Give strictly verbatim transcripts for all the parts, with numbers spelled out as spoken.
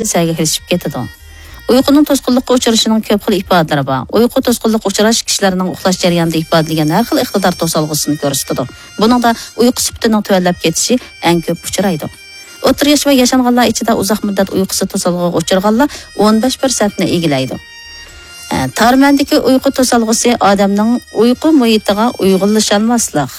سەگەكلىشىپ كېتىدۇ. ئۇيقۇنىڭ توسقۇنلۇققا ئۇچرىشىنىڭ كۆپ خىل ئىپادىلىرى بار. ئۇيقۇ توسقۇنلۇققا ئۇچراش كىشىلەرنىڭ ئۇخلاش جەريانىدا ئىپادىلىگەن ھەر خىل ئىقتىدار توسالغۇسىنى كۆرسىتىدۇ. بۇنىڭدا ئۇيقۇ سۈپىتىنىڭ تۆۋەنلەپ كېتىشى ئەڭ كۆپ ئۇچرايدۇ. ئوتتۇرا ياش ۋە ياشانغانلار ئىچىدە ئۇزاق مۇددەت ئۇيقۇسىز توسالغۇغا ئۇچرىغانلار ئون بەش پىرسەنتنى ئىگىلەيدۇ. ئە، تارمەندىكى ئۇيقۇ توسالغۇسى ئادەمنىڭ ئۇيقۇ مۇھىتىغا ئۇيغۇنلىشالماسلىق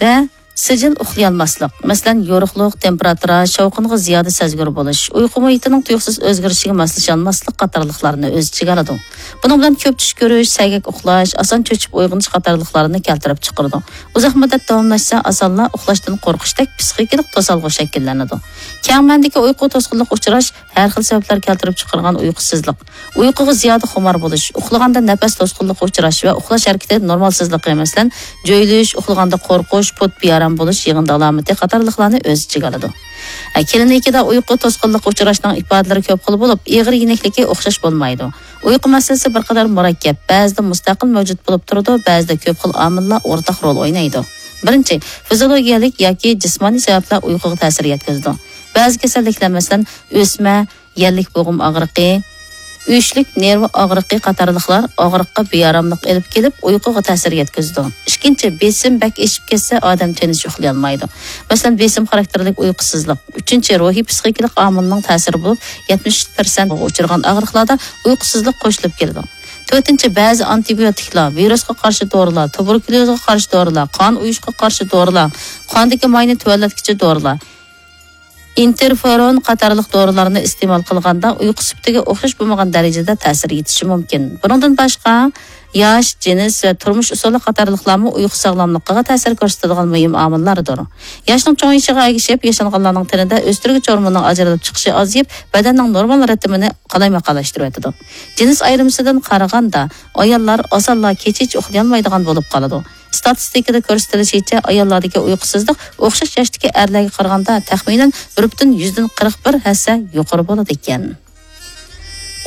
ۋە سىجىل ئۇخلىيالماسلىق، مەسىلەن، يورۇقلۇق، تېمپېراتۇرا، شاۋقۇنغا زىيادە سەزگۈر بولۇش، ئۇيقۇ مۇھىتىنىڭ تۇيۇقسىز ئۆزگىرىشىگە ماسلىشالماسلىق قاتارلىقلارنى ئۆز ئىچىگە ئالىدۇ. بۇنىڭ بىلەن كۆپ چۈش كۆرۈش، سەگەك ئۇخلاش، ئاسان چۆچۈپ ئويغىنىش قاتارلىقلارنى كەلتۈرۈپ چىقىرىدۇ. ئۇزاق مۇددەت داۋاملاشسا، ئاسانلا ئۇخلاشتىن قورقۇشتەك پسىخىكىلىق توسالغۇ شەكىللىنىدۇ. كەڭ مەنىدىكى ئۇيقۇ توسقۇنلۇققا ئۇچراش ھەر خىل سەۋەبلەر كەلتۈرۈپ چىقارغان ئۇيقۇسىزلىق، ئۇيقۇغا زىيادە خۇمار بولۇش، ئۇخلىغاندا نەپەس توسقۇنلۇقىغا ئۇچراش ۋە ئۇخلاش ھەرىكىتى نورمالسىزلىقى، مەسىلەن، جۆيلۈش، ئۇخلىغاندا قورقۇش، پۇت بىئارام بولۇش يىغىندى ئالامىتى قاتارلىقلارنى ئۆز ئىچىگە ئالىدۇ. ئە، كلىنىكىدا ئۇيقۇ توسقۇنلۇققا ئۇچراشنىڭ ئىپادىلىرى كۆپ خىل بولۇپ، ئېغىر يېنىكلىكى ئوخشاش بولمايدۇ. ئۇيقۇ مەسىلىسى بىر قەدەر مۇرەككەپ، بەزىدە مۇستەقىل مەۋجۇت بولۇپ تۇرىدۇ، بەزىدە كۆپ خىل ئامىللار ئورتاق رول ئوينايدۇ. بىرىنچى، فىزىولوگىيەلىك ياكى جىسمانىي سەۋەبلەر ئۇيقۇغا تەسىر يەتكۈزىدۇ. بەزى كېسەللىكلەر، مەسىلەن، ئۆسمە، يەللىك بوغۇم ئاغرىقى، ئۈچلۈك نېرۋا ئاغرىقى قاتارلىقلار ئاغرىققا بىئاراملىق ئېلىپ كېلىپ، ئۇيقۇغا تەسىر يەتكۈزىدۇ. ئىككىنچى، بېسىم بەك ئېشىپ كەتسە، ئادەم تىنچ ئۇخلىيالمايدۇ. مەسىلەن، بېسىم خاراكتېرلىك ئۇيقۇسىزلىق. ئۈچىنچى، روھىي پسىخىكىلىق ئامىلنىڭ تەسىرى بولۇپ، يەتمىش پىرسەنت ئۇچرىغان ئاغرىقلاردا ئۇيقۇسىزلىق قوشۇلۇپ كېلىدۇ. تۆتىنچى، بەزى ئانتىبىيوتىكلار، ۋىرۇسقا قارشى دورىلار، تۇبېركۇليوزغا قارشى دورىلار، قان ئۇيۇشقا قارشى دورىلار، قاندىكى ماينى تۆۋەنلەتكۈچى دورىلار، ئىنتېرفېرون قاتارلىق دورىلارنى ئىستېمال قىلغاندا، ئۇيقۇ سۈپىتىگە ئوخشاش بولمىغان دەرىجىدە تەسىر يېتىشى مۇمكىن. بۇنىڭدىن باشقا، ياش، جىنس ۋە تۇرمۇش ئۇسۇلى قاتارلىقلارمۇ ئۇيقۇ ساغلاملىقىغا تەسىر كۆرسىتىدىغان مۇھىم ئامىللاردۇر. ياشنىڭ چوڭىيىشىغا ئەگىشىپ، ياشانغانلارنىڭ تېنىدە ئۆستۈرگۈچ ھورموننىڭ ئاجرىلىپ چىقىشى ئازىيىپ، بەدەننىڭ نورمال رىتىمىنى قالايمىقانلاشتۇرۇۋېتىدۇ. جىنس ئايرىمىسىدىن قارىغاندا، ئاياللار ئاسانلا كېچىچە ئۇخلىيالمايدىغان بولۇپ قالىدۇ. ئىستاتىستىكىدا كۆرسىتىلىشىچە، ئاياللاردىكى ئۇيقۇسىزلىق ئوخشاش ياشتىكى ئەرلەرگە قارىغاندا تەخمىنەن بىر پۈتۈن يۈزدىن قىرىق بىر ھەسسە يۇقىرى بولىدىكەن.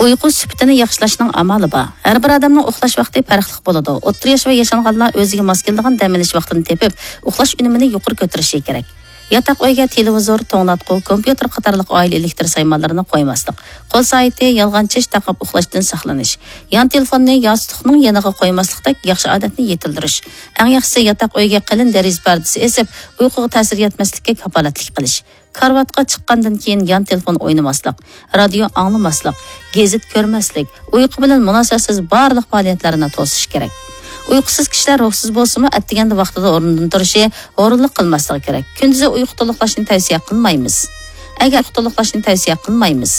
ئۇيقۇ سۈپىتىنى ياخشىلاشنىڭ ئامالى بار. ھەر بىر ئادەمنىڭ ئۇخلاش ۋاقتى پەرقلىق بولىدۇ. ئوتتۇرا ياش ۋە ياشانغانلار ئۆزىگە ماس كېلىدىغان دەم ئېلىش ۋاقتىنى تېپىپ، ئۇخلاش ئۈنۈمىنى يۇقىرى كۆتۈرۈشى كېرەك. ياتاق ئۆيگە تېلېۋىزور، توڭلاتقۇ، كومپيۇتېر قاتارلىق ئائىلە ئېلېكتر سايمانلىرىنى قويماسلىق. قول سائىتى، يالغان چىش تاقاپ ئۇخلاشتىن ساقلىنىش. يان تېلېفوننى ياستۇقنىڭ يېنىغا قويماسلىقتەك ياخشى ئادەتنى يېتىلدۈرۈش. ئەڭ ياخشىسى، ياتاق ئۆيگە قېلىن دېرىزە پەردىسى ئېسىپ، ئۇيقۇغا تەسىر يەتمەسلىككە كاپالەتلىك قىلىش. كارىۋاتقا چىققاندىن كېيىن يان تېلېفون ئوينىماسلىق، رادىيو ئاڭلىماسلىق، گېزىت كۆرمەسلىك، ئۇيقۇ بىلەن مۇناسىۋەتسىز بارلىق پائالىيەتلەرنى توسۇش كېرەك. ئۇيقۇسىز كىشىلەر روھسىز بولسىمۇ، ئەتىگەندە ۋاقتىدا ئورنىدىن تۇرۇشى، ھۇرۇنلۇق قىلماسلىقى كېرەك. كۈندۈزى ئۇيقۇ تولۇقلاشنى تەۋسىيە قىلمايمىز. ئەگەر ئۇيقۇ تولۇقلاشنى تەۋسىيە قىلمايمىز.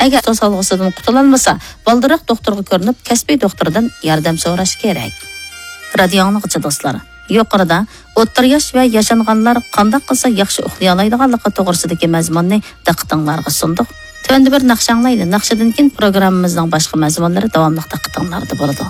ئەگەر توسالغۇسىدىن قۇتۇلالمىسا، بالدۇرراق دوختۇرغا كۆرۈنۈپ، كەسپىي دوختۇردىن ياردەم سوراش كېرەك. رادىيو ئاڭلىغۇچى دوستلار، يۇقىرىدا ئوتتۇرا ياش ۋە ياشانغانلار قانداق قىلسا ياخشى ئۇخلىيالايدىغانلىقى توغرىسىدىكى مەزمۇننى دىققىتىڭلارغا سۇندۇق. تۆۋەندە بىر ناخشا ئاڭلايلى. ناخشىدىن كېيىن پروگراممىمىزنىڭ باشقا مەزمۇنلىرى داۋاملىق دىققىتىڭلاردا بولىدۇ.